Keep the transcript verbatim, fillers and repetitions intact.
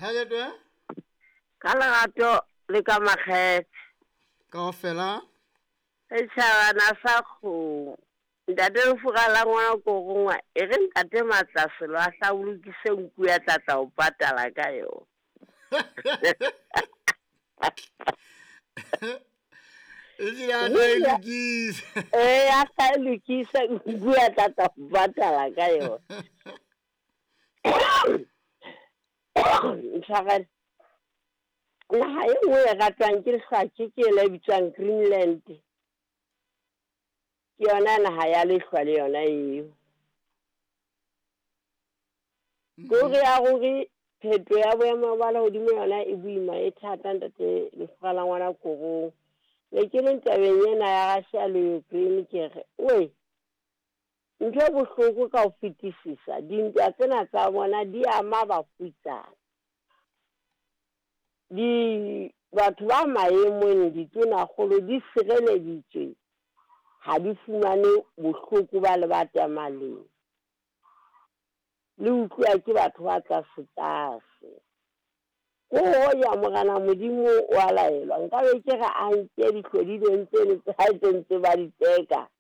Hajetwe? Ka lerato le ka makgethe. Kaofela. Setjhabana sa kgomo. Ntate Lefura la ngwana ko rongwa e re ntate Matlaselo a hlabolokise nku ya tlatla o patala ka yona. Ehlile a tla e lokisa. Eh, a tla e lokisa nku ya tlatla o patala ka yona. Ntshwarele. Naha e nngwe e ratwang ke lehlwa ke e le bitswang Greenland. Ke yona naha ya lehlwa le yona eo. Kore ya ruri pheto ya boemo ba lehodimo yona e boima e thata ntate Lefura la ngwana korong. Ne ke le tabeng ena ya Russia le Ukraine ke re, we ntho e bohloko ka ho fetisisa dintwa tsena tsa bona di ama bafutsana. Di batho ba maemong ditonakgolo di sireleditswe ha di fumane bohloko ba le ba tamaleng. Le utlwa ke batho ba tlase tlase. Ko hoja Morena Modimo wa laelwa nka be ke re a nke dihlodilweng tseno tsa hae tse ntse ba di tseka.